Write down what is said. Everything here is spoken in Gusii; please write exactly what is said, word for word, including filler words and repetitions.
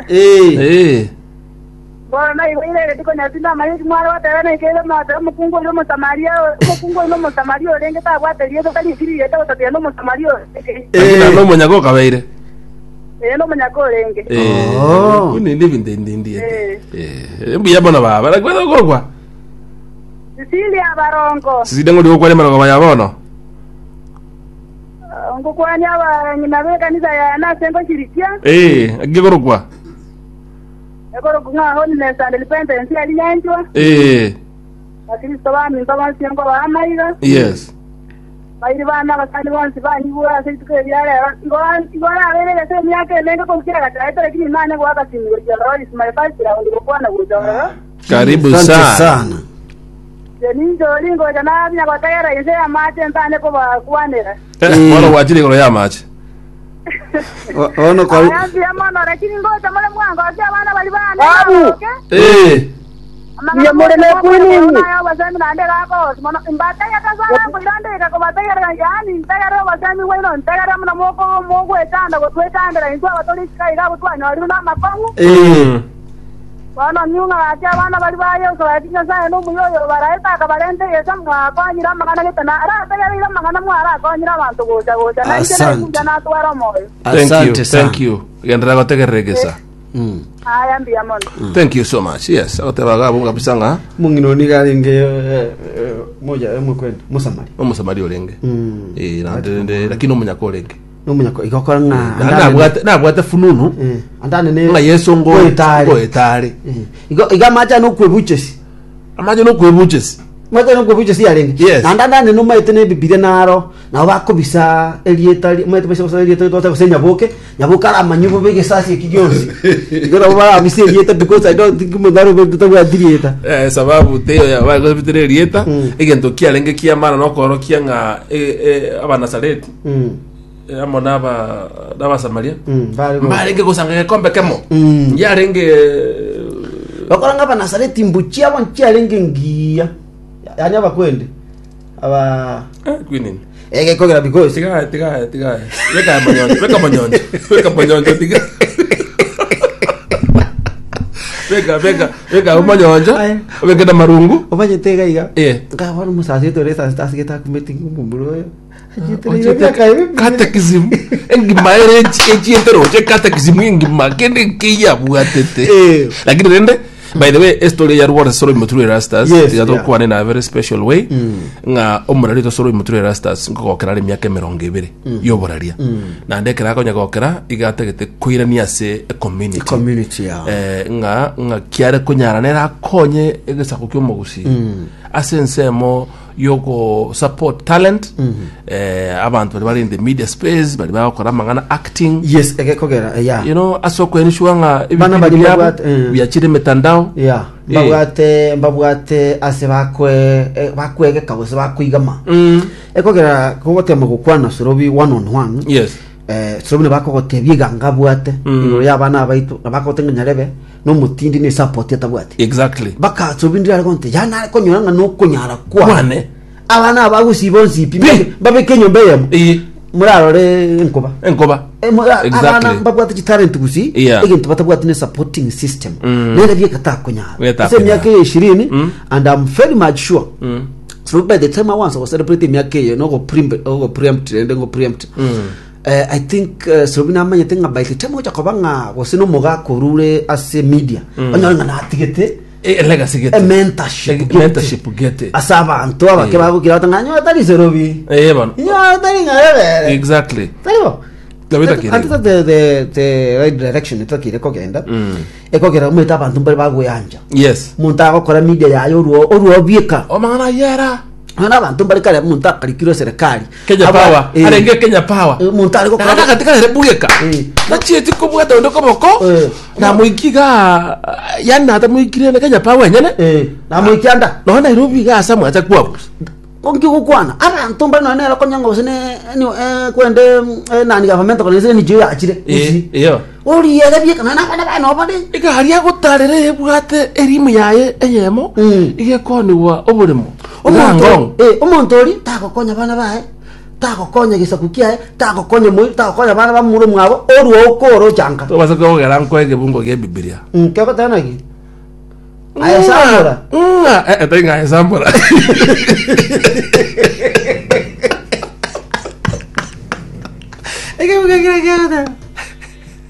Eh. Eh. Bono naiboire rituko nyasinda amanyeti mware goteba naikeire mote omokungu oria Omosamaria, omokungu oria n'Omosamaria orenge tabwate rieta tari rieta gotatiga n'Omosamaria orenge. Lakini Eh. na omonyaga okabeire. Ee, n'omonyaka orenge. Eh. Oh. Kuni ndi binde ndi ndi. Eh. Eh, mbuya bono baba. Nakwenda korwa. Cecilia Barongo, Siside ngori gokware marogo ya bono. ngokwania abang'ina b'ekanisa yane ase ngoshirikia, Eh, agigorokwa. ekoroku ng'a Holiness and Repentance eri nyanchwa, Eh, Bakristo baminto bonsi nkobaha amaiga, yes. bairi bana abasani bonsi banyigure ase rituko eria rero, igo igo rabeire ase emiaka emenge korukira gachaete lakini nane goaka simu gochia ororo is my first round gokwana gocha ororo. Karibu Asante sana. sana. Ninjori ngocha nabinya gotegera inse y'amache ntane kobakwanera. Eh, Eh. bono gwachire igoro ya mache. O- Ono kwa Aya mbuya mono lakini ngocha more mwangokia abana bari bane Babu. baroke. Eh. Amang'ana Mbuya more moche nekwini mokwana inwe. nayo obosemi naende gakosi mono mbatege kasana nkoirandeka kobategerera yaani ntegere obosemi bwaino ntegere muno moko mogwetanda gotwetandera intwe abatori isika iga abo twanyorire na amakong'u Eh. bono nyung'a gaki abana bari ba Yesu gaki Nyasaye nomuya oyo baraeta akabarente Yesu mwakonyire amang'ana gete na arategereire amang'ana mwarakonyire abanto gocha gocha na inche Asante. naikuja natwara omoyo Thank you. Asante sana. Thank you. Genderera gotegererekesa. Mm. aya mbuya mono Thank you so much. Yes, agoteba gabo kabisa ng'a Mung'ina oni garenge eh, eh, moja emukwenda Musamari. omosamari orenge. Mm. Eh, nande nde lakini omonyaka orenge. Nomunyako igokora ng'a Na nabwate nabwate fununu Eh, andane ne ng'a Yesu ngo goetare. goetare. Eh, Igo iga macha nokwebuchesi. Amaje nokwebuchesi. Macha nokwebuchesi yarenge. Yes. Na andane nomaete ne Bibilia naro nabo bakobisa erieta maete basa basa erieta twata gose nyaboke nyaboke aramanyi bobe egesasi eki gionsi igo nabo barabisa erieta because I don't think mundu arobe tabwati rieta Eh, sababu teyo ya bagobitire erieta Mm. egento kiarenge kiamana nokorokia ng'a eh, eh, abanasareti Mm. eh, amo n'aba n'abasamaria Mm, bari go- mbarenge gosanga gekombe kemo Mm. yarenge bakora ng'a abanasareti mbuchi abo nchiarenge ngiya yani abakwende aba eh, kwinini egekogera because tiga tiga tiga beka manyonjo beka manyonjo beka manyonjo tiga beka beka beka manyonjo Aye. beka na marungu omanyete iga iga eh nkabona omusasi otore esasi tasigete akumete ng'omomura oyo catechism engima ere echienteroche catechism engima kende keyabwatete Eh. lakini rende by the way estory ya rwara soro imuturu erastas Yes, tiga tokwane na very special way ng'a omorari tosoro imuturu erastas nkogokera are emiaka emirongo ebere yoboraria naende ekero akonya gokera iga atagete koirania ase ecommunity community ya eh, ng'a ng'a kiare konyara nere akonye egesako kia omogusi ase ensemo yoko support talent eh, abantu bari bari in the media space bari bagokora amang'ana acting yes egekogera ya you know ase okwenishwa ng'a Bana ebipindi bari biabo babwate, eh. biachire emitandao ya mbabwate mbabwate ase bakwe eh, bakwegeka gose bakwigama Mm. ekogera kogotema gokwana sorobi one on one yes eh sorobi nabakogotebia eganga abwate Mm. igoro ya abana abaitu nabakogotenga nyarebe nomotindi ne support atabwate exactly baka sorobi ndire aregonte yana arekonyora ng'a nokonyara kwane Kwane. abana abagusiba onsipi Pi. babeke enyomba eyemo Eh, murarore enkoba enkoba Eh, mura- Exactly. abana mbabwate chitalent gusi Yeah. egento batabwate ne supporting system Mm. nere byekatakunyara Getakunyara. ase emiaka eye ishirini Mm. and i'm very much sure Mm. so by the time i once was celebrate emiaka eye nogo preempt rende ngo preempt Mm. Eh, i think uh, sorobi namanyete ng'a by the time ocha koba ng'a gose nomogaka orure ase media onyore ng'a natigete Eh, legacy gete e mentorship Eh, gete. mentorship gete ase abanto abake Eh. bagokira bata ng'a nyowe tari sorobi eh bano nyowe tari ng'arebere exactly taribo Tabita kire. Ati the the the right direction itakire kogenda Mm. ekogera omwete abanto mbari bagweyanja yes omonto agokora media yaye orwo orwo bieka omang'ana yera nonya abanto mbari kare omonto akarikirwe serikali kenya Aba- power eh, arenge kenya power eh, omonto ari gokora nagana katika rere bugeka Eh. nachieti kobwata onde koboko Eh. namoikiga yani natamoikire na kenya power enyene eh namoikianda nonya nairobi iga ase mwacha kwabusa onki gokwana abanto mbari nonya nere konyanga gose ne ni- eh, kwende mm, eh, nani government kone se nijo yachire Eh, iyo oriere bieka nonya abana bane obare igari agotarera ebwate erimu yaye eyemo Mm. igekoniwa oboremo omonto ngong eh, omonto ori tagokonya abana baye Tagokonya gesaku kiaye, tagokonya moi, tagokonya bana bamuro mwabo, orwo okoro ochanka. Tobasa kogera nkoe ekebungo gia Bibilia. Mm, kegoteba naki? Aye sambora. Ng'a, eh, eh, tari ng'a aye sambora. Ekebungo kere kegoteba.